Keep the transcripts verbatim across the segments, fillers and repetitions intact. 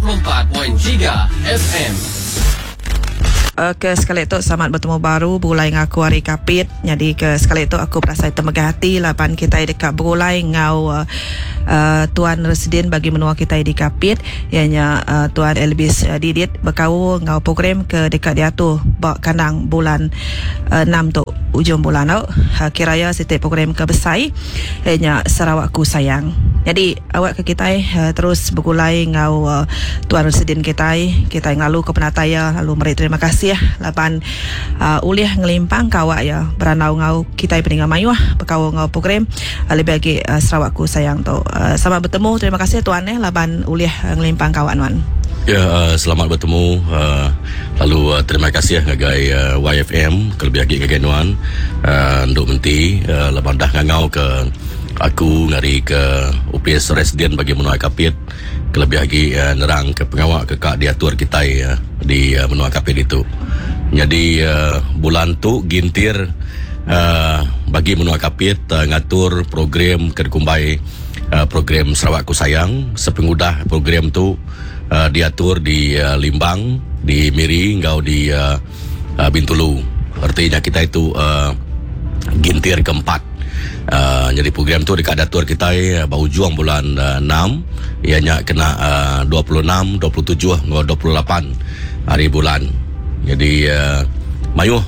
sembilan puluh empat tiga F M. Ke sekali tu selamat bertemu baru begulai dengan aku hari Kapit. Jadi ke sekali tu aku berasa temegah hati laban kita dekat begulai ngau uh, uh, Tuan Residen bagi menua kita di Kapit, ianya uh, Tuan Elvis uh, Didit berkau ngau program ke dekat dia tu bak kandang bulan uh, enam tu ujung bulan tu. Uh, kiraya setiap program ke besar ianya Sarawakku Sayang. Jadi awak ke kita uh, terus begulai ngau uh, Tuan Residen kita, kita ngalu ke penataya lalu meri terima kasih laban uh, ulih ngelimpang kawak ya beranau ngau kita peninga mayuh berkau ngau program uh, lebih lagi uh, Sarawakku Sayang tu. Uh, selamat bertemu, terima kasih tuan eh laban ulih uh, ngelimpang kawak nuan. Ya, uh, selamat bertemu uh, lalu uh, terima kasih ngagai uh, Y F M kelebih lagi ngagai nuan uh, nduk menti uh, laban dah ngangau ke aku ngari ke U P S Residen bagi menua Kapit kelebih lagi uh, nerang ke pengawak ke kak diatur kita uh, di uh, menua Kapit itu. Jadi uh, bulan tu gintir uh, bagi menua Kapit uh, ngatur program kekumbai uh, program Sarawakku Sayang. Sepengudah program tu uh, diatur di uh, Limbang, di Miri, ngau di uh, uh, Bintulu. Artinya kita itu uh, gintir keempat. Uh, jadi program tu dekat datur kita uh, baru juang bulan uh, enam, ianya kena uh, dua puluh enam, dua puluh tujuh, ngau dua puluh lapan hari bulan. Jadi uh, mayuh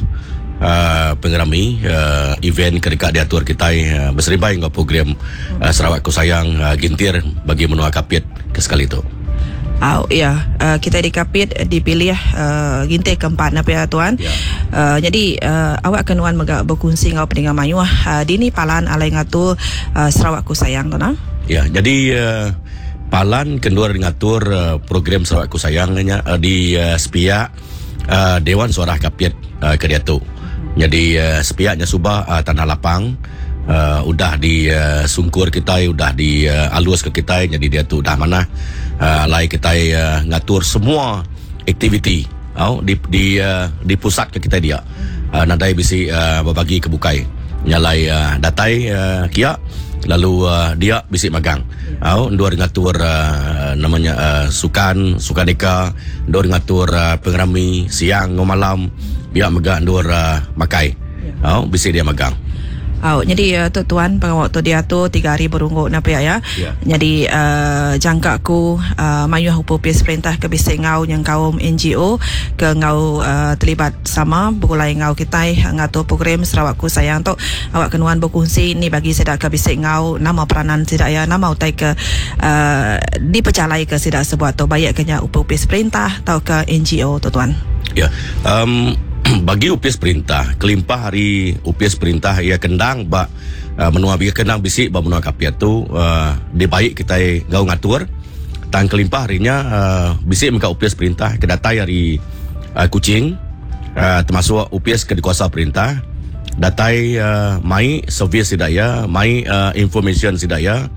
uh, pengerami uh, event ke dekat diatur kita uh, berseribai ngau program uh, Sarawakku Sayang uh, gintir bagi menua Kapit ke sekali tu. Oh, ya, uh, kita di Kapit dipilih uh, gintir keempat nak ya tuan. Ya. Uh, jadi uh, awak kenuan megak berkongsi ngau peninga mayuh uh, dini palan alai ngatur uh, Sarawakku Sayang tu nah. Ya, jadi uh, palan kendur ngatur uh, program Sarawakku Sayang nya uh, di uh, sepiak uh, Dewan Suarah Kapit uh, ke diatu. Jadi uh, sepiaknya subah uh, tanah lapang uh, udah di uh, sungkur kita, udah di uh, alus ke kita, jadi dia tu udah mana uh, alai kita uh, ngatur semua aktiviti oh, di, di, uh, di pusat ke kita dia. Uh, nadai bisi uh, berbagi ke bukai. Nyalai uh, datai uh, kia lalu uh, dia bisi magang. Oh, dua ngatur uh, namanya uh, sukan, sukaneka, dua ngatur uh, pengerami siang ngau malam, biar megak dua uh, makai. Oh, bisi dia magang. Oh, jadi uh, tu tuan pengawak tu dia tu tiga hari berungguk nak ya ya. Yeah. Jadi uh, jangka aku uh, mayuh upis perintah ke bisi ngau yang kaum N G O ke ngau uh, terlibat sama bergulai ngau kita ngatur program Sarawakku Sayang tu awak kenuan berkongsi ni bagi sedak ke bisi ngau nama peranan sedak ya nama utai ke uh, dipecalai ke sedak sebuah tu baik kenya upis perintah atau ke N G O tu tuan. Ya. Yeah. Um, bagi upis perintah kelimpah hari upis perintah ia kendang bak uh, menua bagi kendang bisik bak menua Kapit tu uh, dibaik kita ngau ngatur tang kelimpah harinya uh, bisik meka upis perintah ke datai hari uh, Kuching uh, termasuk upis ke dikuasa perintah datai uh, mai servis sidaya mai uh, information sidaya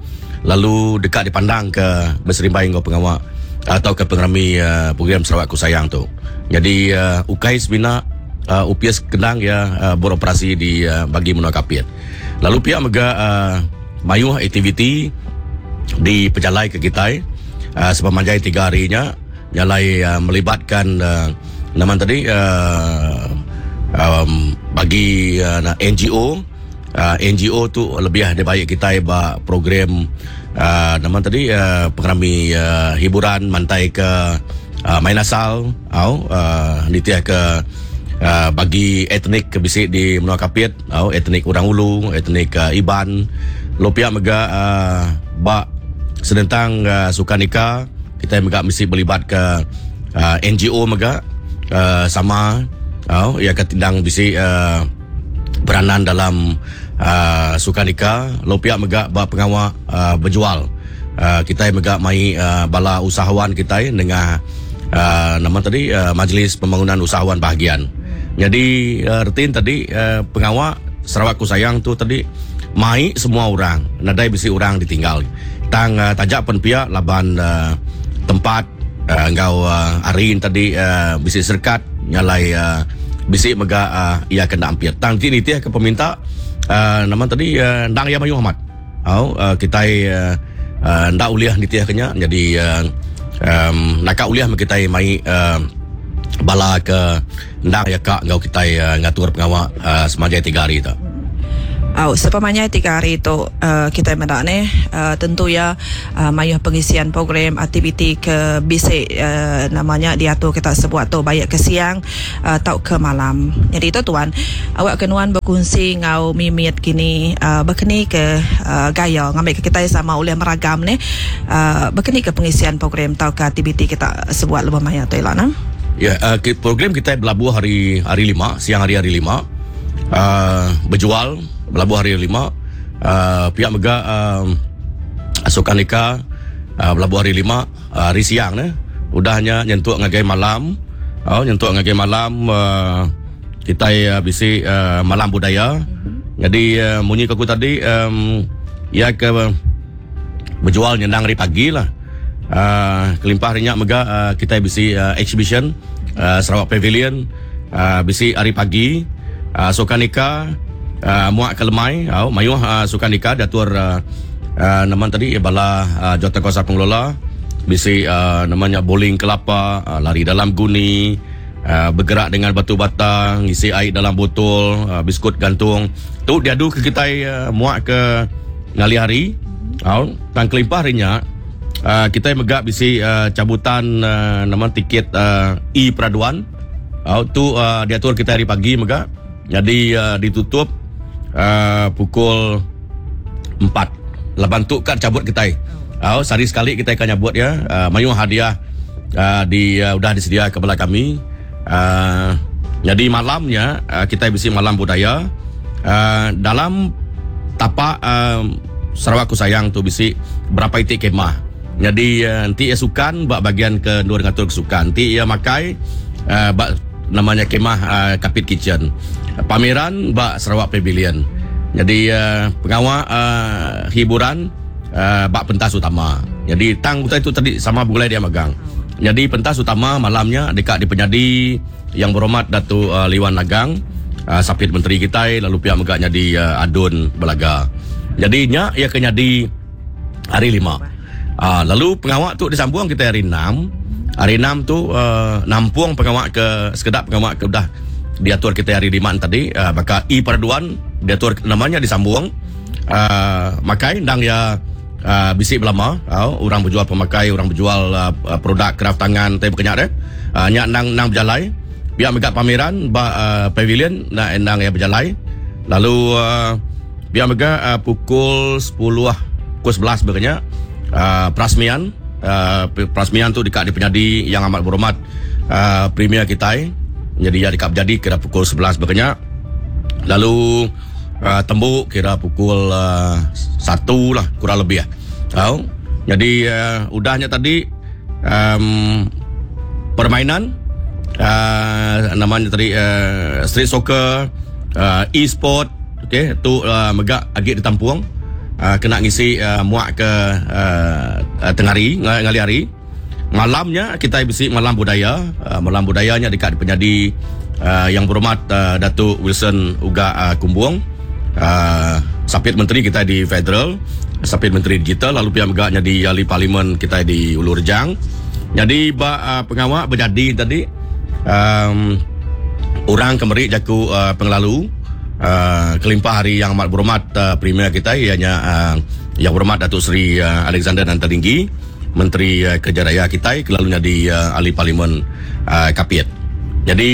lalu dekat dipandang ke berserimbai ngau pengawak atau ke pengerami uh, program Sarawakku Sayang tu. Jadi uh, ukai sebina uh, U P S kendang ya uh, beroperasi di uh, bagi menua Kapit. Lalu pihak mega uh, mayuh aktiviti di pejalai ke kita uh, sepanjang tiga harinya nyalai uh, melibatkan uh, nama tadi uh, um, bagi uh, N G O uh, N G O tu lebih ada baik kita ba program uh, nama tadi uh, pengerami uh, hiburan mantai ke uh, main asal au uh, nitiah ke uh, bagi etnik ke bisik di menua Kapit au etnik Orang Ulu, etnik uh, Iban, lopia mega uh, ba senentang uh, sukaneka kita mega mesti berlibat ke uh, N G O mega uh, sama au ia ketindang bisik uh, peranan dalam uh, sukaneka lopia mega ba pengawak uh, berjual uh, kita mega mai uh, bala usahawan kita dengan uh, nama tadi uh, Majlis Pembangunan Usahawan Bahagian. Jadi uh, retin tadi uh, pengawak Sarawakku Sayang tu tadi mai semua orang nadai bisi orang ditinggal. Tang uh, tajak pen pihak laban uh, tempat uh, ngau uh, arin tadi uh, bisi serkat nyalai uh, bisi mega uh, ia kena ampir. Tang ti nitih ke peminta uh, nama tadi uh, ndang ya mayu amat. Au uh, kita uh, uh, ndak uliah nitih kenya jadi uh, Um, nakak uliah kita mai uh, bala ke ndang ya kak ngau kita uh, ngatur pengawa uh, semanjai tiga hari tu. Oh, sepamanya tiga hari tu uh, kita mendak ni uh, tentu ya uh, mayuh pengisian program aktiviti ke bisik uh, namanya diatur kita sebuat tu baik ke siang atau uh, ke malam. Jadi itu tuan, awak kenuan berkongsi ngau mimit kini uh, berkeni ke uh, gaya ngambil ke kita sama oleh meragam ni uh, berkeni ke pengisian program atau ke aktiviti kita sebuat lebih maya tu lah nah. Ya, uh, program kita berlabuh hari hari lima, siang hari hari lima. Uh, berjual berlabuh hari lima, uh, pihak mega uh, Sukaneka uh, berlabuh hari lima, uh, hari siang ne udahnya nyentuk ngagai malam. Oh, nyentuk ngagai malam uh, kita uh, bisi uh, malam budaya. Mm-hmm. Jadi uh, munyi aku tadi um, ya ke uh, berjual nyendang hari pagi lah. Uh, kelimpah harinya mega uh, kita bisi uh, exhibition uh, Sarawak Pavilion uh, bisi hari pagi. Uh, Sukaneka uh, muak ke lemai, oh, mayuh uh, Sukaneka diatur uh, uh, nama tadi bala uh, jawatan kuasa pengelola bisi uh, namanya bowling kelapa, uh, lari dalam guni, uh, bergerak dengan batu bata, ngisi air dalam botol, uh, biskut gantung. Tu diadu ke kita uh, muak ke ngali hari. Oh, tang kelimpah harinya uh, kita megak bisi uh, cabutan uh, nama tiket uh, e peraduan. Oh, tu uh, diatur kita hari pagi megak. Jadi uh, ditutup uh, pukul empat. Laban tu kan cabut kita. Oh, sehari sekali kita akan nyabut ya. Uh, mayuh hadiah uh, di uh, udah disedia kepada kami. Uh, jadi malamnya uh, kita bisi malam budaya. Uh, dalam tapak uh, Sarawakku Sayang tu bisi berapa itik kemah. Jadi uh, nanti ia sukan bak bagian ke dua ngatur kesukan. Nanti ia makai uh, bak namanya kemah uh, Kapit Kitchen. Pameran bak Sarawak Pavilion. Jadi uh, pengawal uh, hiburan uh, bak pentas utama. Jadi tang utai itu tadi sama bulai dia magang. Jadi pentas utama malamnya dekat di penyadi yang berhormat Datuk uh, Liwan Lagang, uh, sapit menteri kita, lalu pihak megaknya di uh, Adun Belaga. Jadi nya ia kena di hari lima. Uh, lalu pengawal tu disambung kita hari enam. Hari enam tu uh, nampung pengawal ke sekedap pengawal ke dah diatur kita hari lima tadi, uh, maka e peraduan diatur namanya disambung. Uh, makai ndang ya uh, bisik belama, uh, orang berjual pemakai, orang berjual uh, produk kraft tangan tai berkenyak deh. Uh, nyak nang nang berjalai. Biar megak pameran ba uh, pavilion nak endang ya berjalai. Lalu uh, biar megak uh, pukul sepuluh pukul sebelas berkenyak uh, perasmian. Uh, perasmian tu dekat di penyadi yang amat berhormat uh, Premier kita. Jadi ya dekat berjadi kira pukul sebelas berkenyak. Lalu uh, tembuk kira pukul uh, satu lah kurang lebih lah. Oh, jadi uh, udahnya tadi um, permainan uh, namanya tadi uh, street soccer, uh, e-sport, okey tu uh, megak agak ditampung. Uh, kena ngisi uh, muak ke uh, uh, tengah hari, ngali hari. Malamnya kita bisi malam budaya. Uh, malam budayanya dekat penyadi uh, yang berhormat uh, Datuk Wilson Uga uh, Kumbung, uh, sapit menteri kita di federal, sapit menteri digital, lalu pihak megaknya di ahli parlimen kita di Ulu Rejang. Jadi ba uh, pengawal berjadi tadi um, orang kemeri jaku uh, penglalu. Uh, kelimpah hari yang amat berhormat uh, Premier kita ianya uh, yang berhormat Datuk Seri uh, Alexander Nanta Linggi, Menteri uh, Kerja Raya kita, kelalunya di uh, ahli parlimen uh, Kapit. Jadi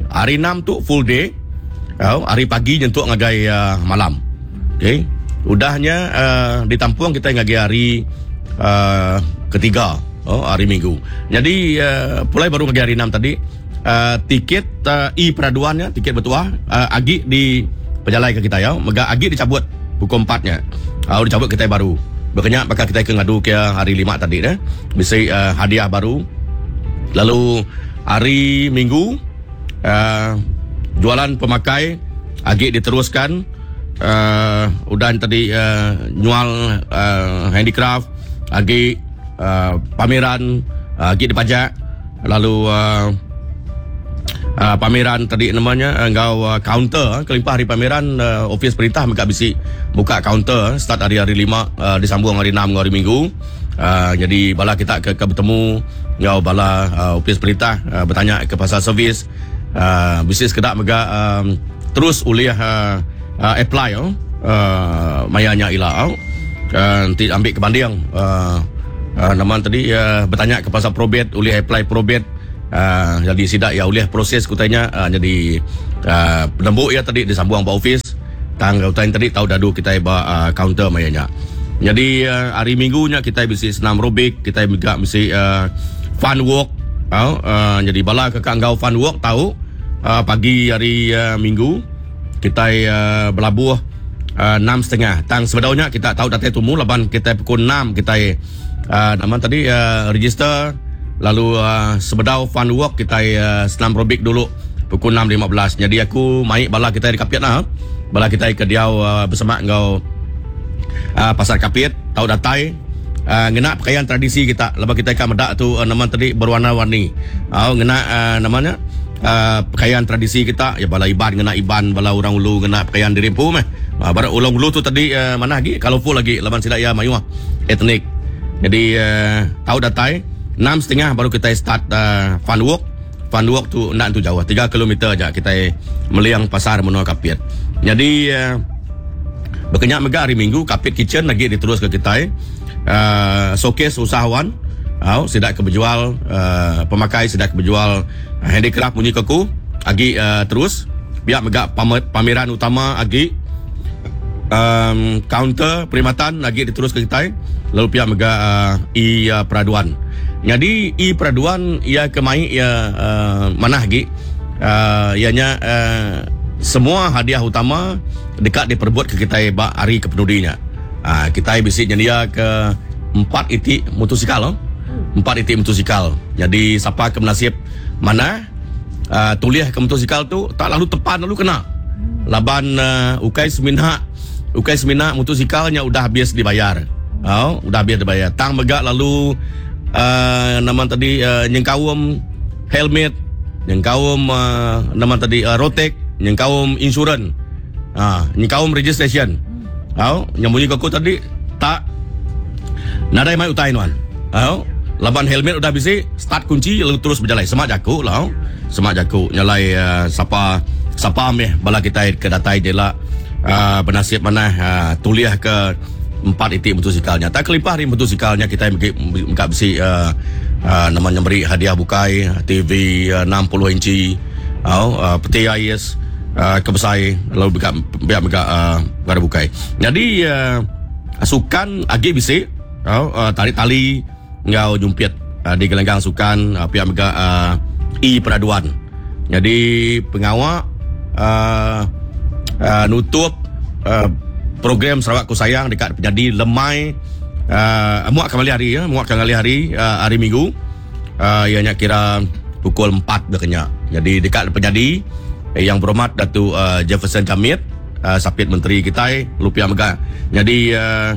hari enam tu full day, uh, hari pagi nyentuk ngagai uh, malam. Okey. Udahnya uh, ditampung kita ngagai hari uh, ketiga, oh, hari Minggu. Jadi uh, pulai baru ngagai hari enam tadi. Uh, tiket uh, e peraduannya, tiket bertuah uh, agi di pejalai ke kita ya, mega agi dicabut pukul empatnya. Uh, dicabut kita baru. Berkenyak bakal kita ke ngadu ke hari lima tadi dah. Bisi uh, hadiah baru. Lalu hari Minggu uh, jualan pemakai agi diteruskan. Uh, udah tadi uh, nyual uh, handicraft agi uh, pameran uh, agi dipajak. Lalu uh, Uh, pameran tadi namanya engkau uh, counter uh, kelimpah hari pameran uh, office perintah mereka bisi buka counter uh, start hari hari lima uh, disambung hari enam hari Minggu. Uh, jadi bala kita ke, ke bertemu ngau bala uh, ofis perintah uh, bertanya ke pasal servis uh, bisnes kedak mega um, terus ulih uh, uh, apply oh uh, mayanya ila oh. Uh, nanti ambil ke banding uh, uh, nama tadi uh, bertanya ke pasal probate ulih apply probate uh, jadi sidak ya ulih proses kutanya uh, jadi uh, penembuk ya tadi disambung ba office tang utai tadi tahu dadu kita ba uh, counter mayanya. Jadi uh, hari minggunya kita mesti senam aerobik, kita juga mesti uh, fun walk. Uh, uh, jadi bala kakak ngau fun walk tahu uh, pagi hari uh, minggu kita uh, berlabuh uh, enam setengah. Tang sebedaunya kita tahu datai tumu laban kita pukul enam kita uh, nama tadi uh, register lalu uh, sebedau fun walk kita uh, senam aerobik dulu pukul enam lima belas. Jadi aku mai bala kita di Kapit lah. Bala kita ke diau uh, bersama ngau Uh, pasar Kapit tahu datai uh, ngena pakaian tradisi kita lepas kita ikan medak tu uh, nama tadi berwarna-warni uh, ngena uh, namanya uh, pakaian tradisi kita ya bala iban ngena iban bala orang ulu ngena pakaian diri empu meh uh, bara ulang ulu tu tadi uh, mana lagi kalau full lagi laban sida ya mayuh etnik. Jadi uh, tahu datai enam setengah baru kita start uh, fun walk. Fun walk tu nak tu jauh tiga kilometer aja kita meliang pasar menua Kapit. Jadi uh, berkenyak mega hari Minggu Kapit Kitchen lagi diterus ke kita uh, showcase usahawan uh, sidak ke berjual uh, pemakai sidak ke berjual uh, handicraft bunyi keku agi uh, terus biar mega pameran utama agi um, counter perkhidmatan lagi diterus ke kita lalu pihak mega uh, e uh, peraduan. Jadi e peraduan ia kemai ia uh, mana lagi uh, ianya uh, semua hadiah utama dekat diperbuat ke kita bak hari kepenudinya. Ha, kita bisi nyedia ke empat itik motosikal oh. Empat itik motosikal. Jadi siapa ke menasib mana uh, tuliah ke motosikal tu tak lalu tepan lalu kena. Laban uh, ukai semina ukai semina motosikalnya udah habis dibayar. Oh, udah habis dibayar. Tang megak lalu uh, nama tadi uh, nyengkaum helmet, nyengkaum uh, nama tadi uh, rotek, nyengkaum insurans. Ha, nyengkaum registration. Ha, yang bunyi kau tadi tak nadai mai utai nuan. Ha, laban helmet udah bisi, start kunci lalu terus berjalan. Semak jaku lah. Semak jaku nyalai uh, sapa sapa meh bala kita ke datai je lah uh, bernasib mana uh, tuliah ke empat itik motosikalnya. Tak kelipah hari motosikalnya kita mengkat besi uh, uh, namanya beri hadiah bukai T V uh, enam puluh inci, uh, peti ais Uh, kebesai lalu biar biar biar uh, bukai. Jadi uh, sukan agi bisi uh, uh, tarik tali ngau jumpit uh, di gelanggang sukan uh, pihak mega uh, e peraduan. Jadi pengawal uh, uh, nutup uh, program Sarawakku Sayang dekat menjadi lemai uh, muak kembali hari ya, muak kembali hari uh, hari Minggu uh, ianya kira pukul empat berkenyak. Jadi dekat penjadi yang berhormat Datuk uh, Jefferson Jamit uh, Sapit Menteri kita Lupia Mega. Jadi uh,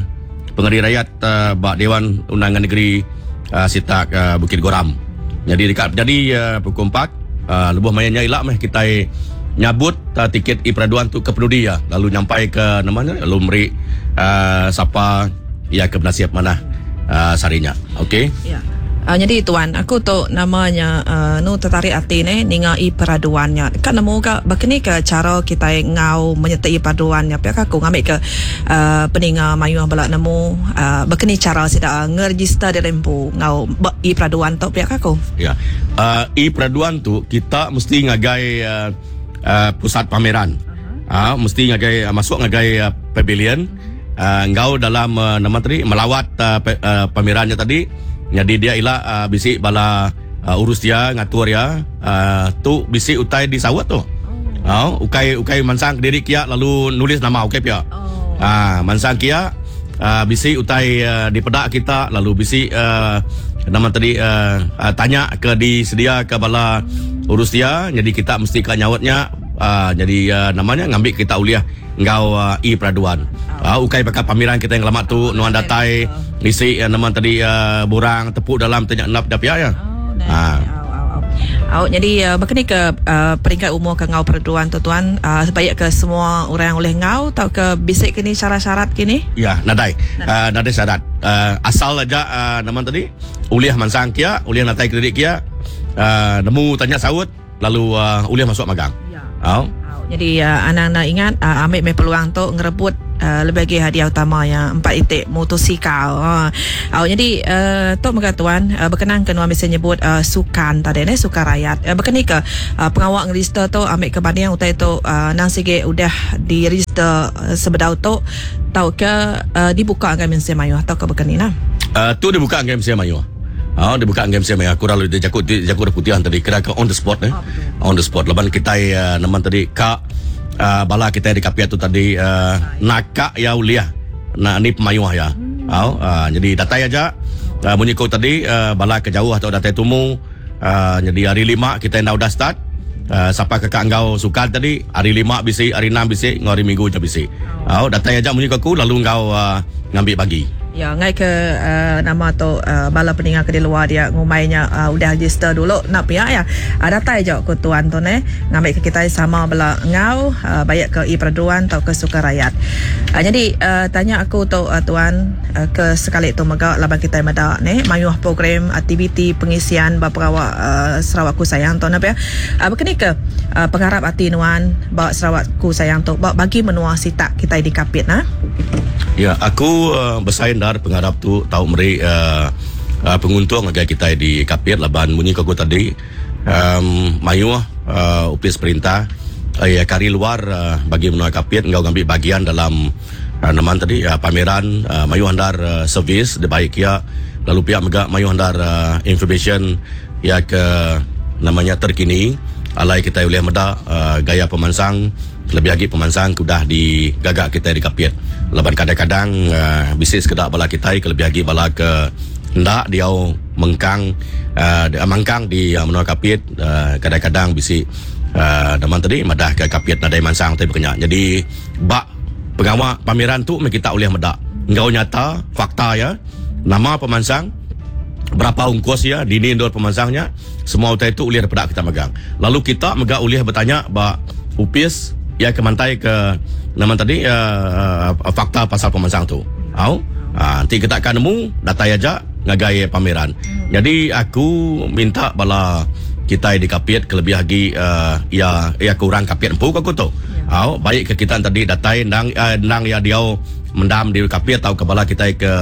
pengari rakyat uh, Bak Dewan Undangan Negeri uh, Sitak uh, Bukit Goram. Jadi dekat jadi uh, pukul empat uh, lebuh mayanya ilak meh kita nyabut uh, tiket e peraduan tu ke penudi ya. Lalu nyampai ke namanya lalu meri uh, siapa ya ke bernasib mana uh, sarinya. Okey. Ya. Uh, jadi tuan, aku tu namanya uh, nu tertarik hati ni ninga i peraduannya. Kan nemu ke begini ke cara kita ngau menyertai peraduannya. Pihak aku ngambil ke uh, peninga mayu balak nemu uh, begini cara sida ngeregister di rempu ngau i peraduan tu pihak aku. Ya. Uh, i peraduan tu kita mesti ngagai uh, uh, pusat pameran. Uh-huh. Uh, mesti ngagai uh, masuk ngagai uh, pavilion. Uh, ngau dalam uh, nama tadi melawat uh, pe, uh, pamerannya tadi. Jadi dia ila uh, bisik bala uh, urus dia ngatur ya uh, tu bisik utai di sawat tu. Oh, ukai ukai mansang diri kia lalu nulis nama ukai pia. Oh. Ah, mansang kia uh, bisik utai uh, di pedak kita lalu bisik uh, nama tadi uh, uh, tanya ke disedia ke bala urus dia. Jadi kita mesti ke nyawatnya uh, jadi uh, namanya ngambil kita uliah ngau uh, e peraduan. Uh, ukai pakai pameran kita yang lama tu nuan datai ngisi uh, nama tadi uh, borang tepuk dalam tanya nap dapia ya. Oh, nah. Au, jadi uh, begini ke uh, peringkat umur ke ngau peraduan tu tuan, uh, sebaik ke semua orang oleh ngau atau ke bisik kini syarat-syarat kini? Ya, nadai. Uh, nadai syarat. Uh, asal aja uh, nama tadi ulih mansang kia, ulih natai kredit kia, uh, nemu tanya saut lalu uh, ulih masuk magang. Ya. Au. Au, jadi uh, anak-anak ingat uh, ambil me peluang tu ngerebut uh, lebih lagi hadiah utama yang empat itik motosikal. Ha. Au, jadi uh, tu mega tuan uh, berkenaan ke nuan bisa nyebut uh, sukan tadi ni sukan rakyat. Uh, berkenaan ke uh, pengawak ngeregister tu ambil ke banding utai tu uh, nang sige udah diregister uh, sebedau tu tau ke uh, dibuka dengan mensia mayuh atau ke berkenaan lah. Uh, tu dibuka dengan mensia mayuh. Ah, dia buka game saya aku lalu dia jakut dia jakut putihan tadi kira ke on the spot eh. Oh, on the spot. Laban kita uh, naman tadi ka uh, bala kita di kapia tu tadi uh, nakak ya uliah. Nak ni pemayuh ya. Hmm. Oh, uh, jadi datai aja uh, bunyi kau tadi uh, bala ke jauh atau datai tumu uh, jadi hari lima kita dah udah start. Uh, siapa kakak engkau suka tadi hari lima bisi, hari enam bisi, ngau hari minggu je bisi. Oh, datai aja bunyi aku lalu engkau uh, ngambil bagi. Ya, ngai ke uh, nama tu uh, bala peningat ke di luar dia ngumainya uh, udah register dulu nak pihak ya. Uh, datai je ke tuan tu ne ngambil ke kita sama bala ngau uh, bayak ke i peraduan atau ke suka rakyat. Uh, jadi uh, tanya aku tu uh, tuan uh, ke sekali tu mega laban kita meda ne mayuh program aktiviti pengisian baprawak uh, Sarawakku Sayang tu napa ya. Uh, berkeni ke uh, pengharap hati nuan ba Sarawakku Sayang tu ba bagi menua sitak kita di Kapit nah. Ya, aku uh, bersaing dar pengharap tu tau meri uh, uh, penguntung agar kita di Kapit laban munyi aku tadi um, mayuh uh, upis perintah uh, ya kari luar uh, bagi menua Kapit ngau ngambil bagian dalam uh, naman tadi uh, pameran uh, mayuh andar uh, servis de baik ya lalu pihak mega mayuh andar uh, information ya ke namanya terkini alai kita boleh meda uh, gaya pemansang lebih lagi pemansang sudah digagak kita di Kapit. Laban kadang-kadang uh, bisnis kedak bala kita lebih lagi bala ke hendak dia mengkang uh, mangkang di uh, menua Kapit uh, kadang-kadang bisi uh, daman tadi madah ke Kapit nadai mansang tapi berkenyak. Jadi bak pengawal pameran tu kita boleh medak. Engkau nyata fakta ya nama pemansang berapa ongkos ya dini ndor pemansangnya semua utai itu ulih daripada kita megang. Lalu kita mega ulih bertanya bak upis ya ke mantai ke nama tadi uh, uh, fakta pasal pemansang tu. Au, uh, nanti kita akan nemu datai aja ngagai pameran. Hmm. Jadi aku minta bala kita di Kapit kelebih lagi uh, ya ya kurang Kapit empu aku tu. Ya. Au, baik ke kita tadi datai nang uh, nang ya dia mendam di Kapit atau ke bala kita ke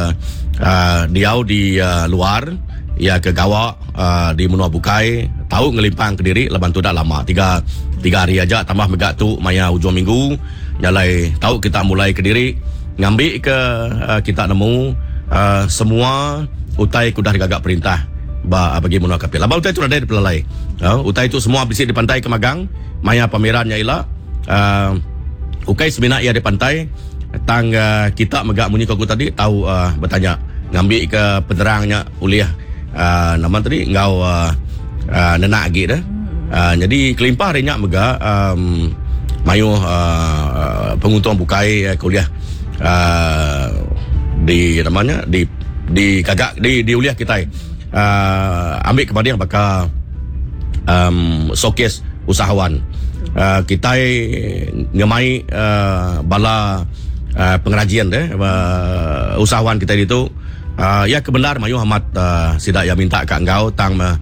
uh, diau di uh, luar ya ke Gawak uh, di Menua Bukai tahu ngelimpang ke diri laban tu dah lama tiga tiga hari aja tambah mega tu maya hujung minggu nyalai tahu kita mulai ke diri ngambil ke uh, kita nemu uh, semua utai kudah digagak perintah ba bagi Menua Kapit laban utai tu ada di pelalai uh, utai tu semua bisik di pantai ke magang maya pamerannya ila uh, ukai sebenar ia di pantai tang uh, kita mega munyi aku tadi tahu uh, bertanya ngambil ke penerangnya ulih uh, nama tadi ngau uh, uh, nenak lagi dah. Uh, jadi kelimpah rinyak mega um, mayuh uh, penguntung bukai uh, kuliah uh, di namanya di di kagak di di uliah kita uh, ambil kepada yang bakal um, showcase usahawan uh, kita ngemai uh, bala uh, pengrajian deh uh, usahawan kita itu uh, ya kebenar mayuh amat uh, sidak yang minta kat engkau tang uh,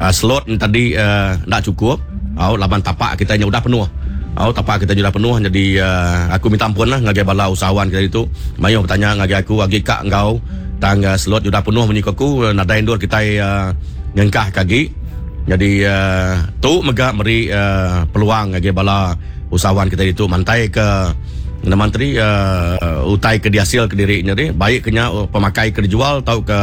Uh, slot ni tadi uh, tak cukup. Au laban tapak kita nya udah penuh. Au tapak kita nya udah penuh jadi uh, aku minta ampun lah ngagai bala usahawan kita itu. Mayuh bertanya ngagai aku agi kak engkau tang uh, slot udah penuh munyi aku nadai endur kita uh, ngengkah kagi. Jadi uh, tu mega meri uh, peluang ngagai bala usahawan kita itu mantai ke menteri uh, utai ke dihasil ke diri nya ni baik kenya pemakai ke dijual atau ke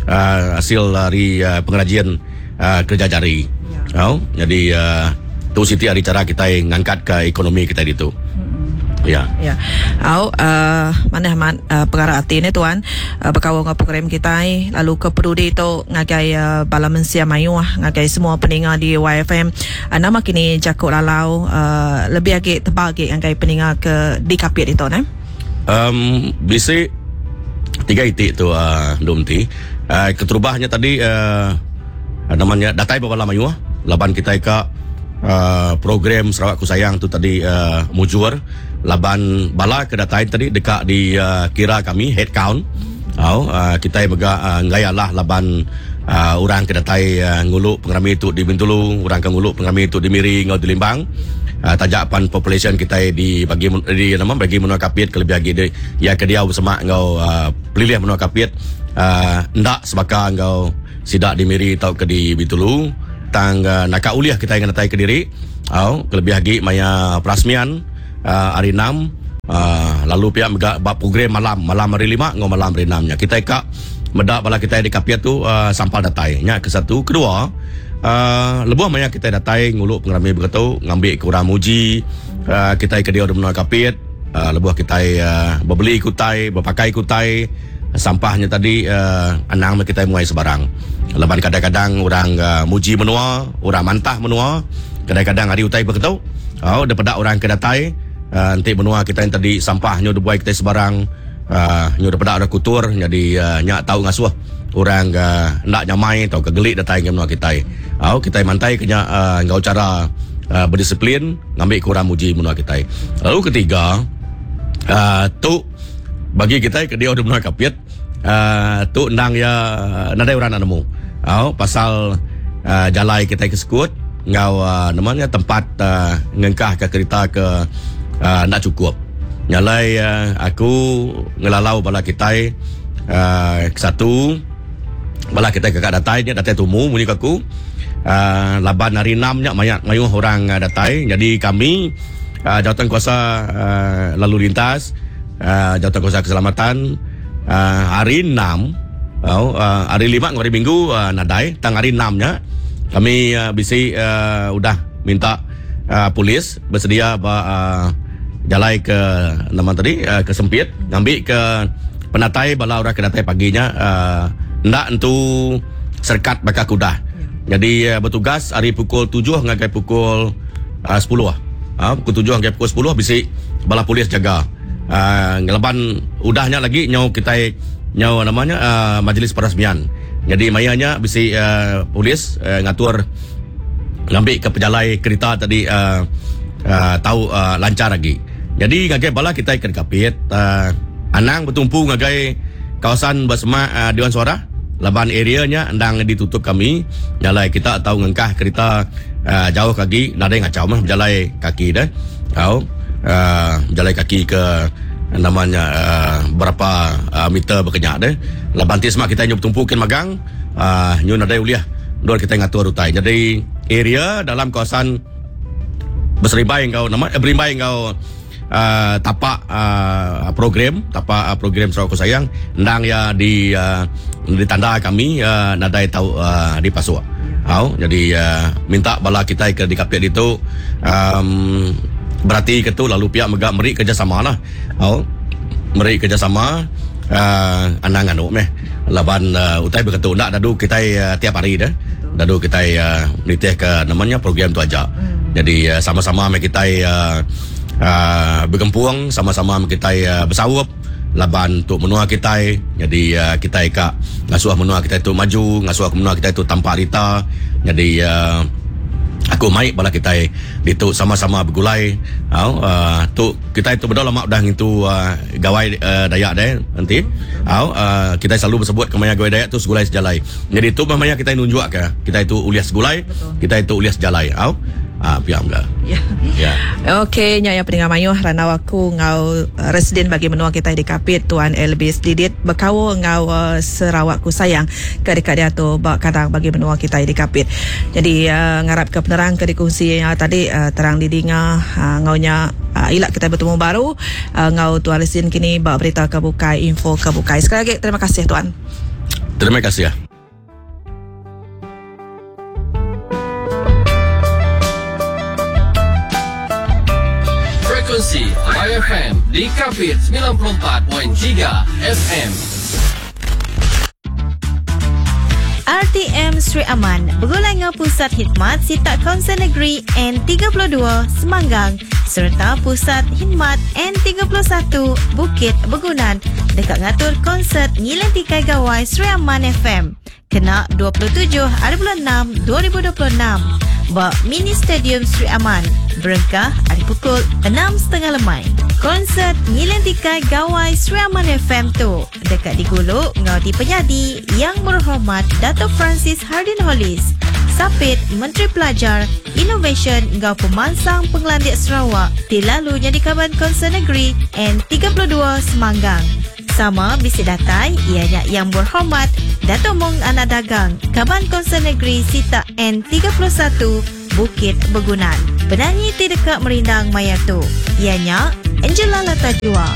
uh, hasil dari uh, pengrajian Uh, kerja jari. Ya. Oh, jadi uh, tu siti hari cara kita ngangkat ke ekonomi kita itu. Hmm. Ya. Ya. Au uh, mana amat uh, perkara hati ni tuan uh, berkawal dengan program kita lalu ke peduli tu ngagai uh, bala mensia mayuh ngagai semua peninga di Y F M. Uh, nama kini Jakut Lalau uh, lebih agi tebal agi ngagai peninga ke di Kapit itu ne. Um bisi tiga itik tu uh, dumti. Uh, keterubahnya tadi uh, Namanya datai bala mayuh laban kita ka uh, program Sarawak Ku Sayang tu tadi uh, mujur laban bala ke datai tadi dekat di uh, kira kami head count. Oh, uh, kita mega uh, ngayalah laban uh, orang ke datai uh, ngulu pengerami tu di Bintulu, orang ke ngulu pengerami tu di Miri ngau di Limbang. Uh, tajak pan population kita di bagi di nama bagi menua Kapit kelebih lagi di ya ke dia bersama ngau uh, pelilih menua Kapit uh, ndak sebaka ngau sidak di Miri atau ke di Bintulu tang uh, naka uliah kita yang datai ke diri. Oh, kelebih lagi maya perasmian uh, hari enam uh, lalu pihak mega bab program malam malam hari lima ngau malam hari enam nya kita ka medak bala kita di Kapit tu uh, sampal datai nya ke satu kedua uh, lebuh maya kita datai nguluk pengerami begitu ngambil ke orang muji uh, kita ke dia di menua Kapit uh, lebuh kita uh, berbeli kutai berpakai kutai sampahnya tadi uh, anang kita muai sebarang laban kadang-kadang orang uh, muji menua orang mantah menua kadang-kadang hari utai begitu oh daripada orang ke datai uh, nanti menua kita yang tadi sampahnya dibuai kita sebarang uh, nyu daripada ada kutur jadi uh, nyak tahu ngasuh orang uh, nak nyamai atau kegelik datai ke menua kita. Oh kita mantai kena uh, ngau cara uh, berdisiplin ngambil kurang muji menua kita. Lalu ketiga uh, tu bagi kita ke dia menua Kapit uh, tu endang ya nadai orang nak nemu. Oh pasal uh, jalai kita ke sekut ngau uh, namanya tempat uh, ngengkah ke kereta ke uh, nak cukup. Nyalai uh, aku ngelalau bala kita uh, satu bala kita ke kat datai nya datai tumu munyi aku uh, laban hari enam nya mayat mayuh orang uh, datai. Jadi kami uh, jawatan kuasa uh, lalu lintas uh, jawatan kuasa keselamatan uh, hari enam oh, uh, hari lima hari minggu uh, nadai tang hari enam nya kami uh, bisi uh, udah minta uh, polis bersedia ba uh, jalai ke nama tadi uh, ke sempit ngambil ke penatai bala orang ke datai paginya uh, ndak entu serkat bakal kuda. Jadi uh, bertugas hari pukul tujuh ngagai pukul uh, sepuluh. Uh, pukul tujuh ngagai pukul sepuluh bisi bala polis jaga. Uh, ngelaban udahnya lagi nyau kita nyau namanya uh, majlis perasmian. Jadi mayanya bisi uh, polis uh, ngatur ngambil ke pejalai kereta tadi uh, uh, tahu uh, lancar lagi. Jadi ngagai bala kita ke Kapit uh, anang bertumpu ngagai kawasan bersemak uh, Dewan Suara laban areanya endang ditutup kami nyalai kita tahu ngengkah kereta uh, jauh kaki nadai ngacau mah berjalai kaki dah. Tahu uh, berjalai kaki ke namanya uh, berapa uh, meter berkenyak dah. Laban ti semak kita nyu bertumpukin magang uh, nyu nadai uliah dor kita ngatur utai. Jadi area dalam kawasan berseribai engkau nama eh, berimbai engkau uh, tapak uh, program tapak uh, program Sarawak Ku Sayang endang ya di uh, ditanda kami uh, nadai tahu uh, di pasuk. Au jadi uh, minta bala kita ke di Kapit itu um, berarti ke tu lalu pihak mega meri kerjasama lah. Au meri kerjasama uh, anang anu meh laban uh, utai berketu ndak dadu kita uh, tiap hari dah. Dadu kita uh, nitih ke namanya program tu aja. Hmm. Jadi uh, sama-sama me kita uh, uh, bergempung, sama-sama me kita uh, bersawup laban untuk menua kita. Jadi uh, kita ka ngasuh menua kita itu maju, ngasuh menua kita itu tanpa rita. Jadi uh, aku mai bala kita ditu sama-sama bergulai. Au uh, tu kita itu berdua lama dah ngintu uh, gawai uh, Dayak deh nanti. Au uh, kita selalu bersebut kemaya gawai Dayak tu segulai sejalai. Jadi tu maya kita nunjuk ke kita itu ulias segulai, kita itu ulias sejalai. Au ah piam ke. Ya. Ya. Okey, nya yang pendengar mayuh ranau aku ngau uh, residen bagi menua kita di Kapit Tuan Elvis Didit berkau ngau uh, Sarawak Ku Sayang ke dekat dia tu bak kadang bagi menua kita di Kapit. Jadi uh, ngarap ke penerang ke dikongsi uh, tadi uh, terang didinga uh, ngaunya uh, ilak kita bertemu baru uh, ngau Tuan Residen kini bak berita ke bukai info ke bukai. Sekali lagi terima kasih tuan. Terima kasih ya. Frekuensi Y F M di Kapit sembilan puluh empat perpuluhan tiga F M. R T M Sri Aman begulai ngau Pusat Khidmat Sitak Kaunsil Negeri N tiga puluh dua Semanggang serta Pusat Khidmat N tiga puluh satu Bukit Begunan dekat ngatur konsert Ngiling Tikai Gawai Sri Aman F M kena dua puluh tujuh hari bulan enam dua ribu dua puluh enam ba Mini Stadium Sri Aman berengkah hari pukul enam tiga puluh lemai. Konsert Ngiling Tikai Gawai Sri Aman F M tu dekat di Guluk ngau di Penyadi Yang Berhormat Dato' Francis Harden Hollis, Sapit Menteri Pelajar, Inovasi ngau Pemansang Pengelandik Sarawak, ti lalu jadi kaban Kaunsil Negeri N tiga puluh dua Semanggang. Sama bisi datai ianya Yang Berhormat Dato' Mong Anak Dagang, Kaban Kaunsil Negeri Sitak N tiga puluh satu Bukit Begunan. Penyanyi ti dekat merindang maya tu ianya Angela Latajua.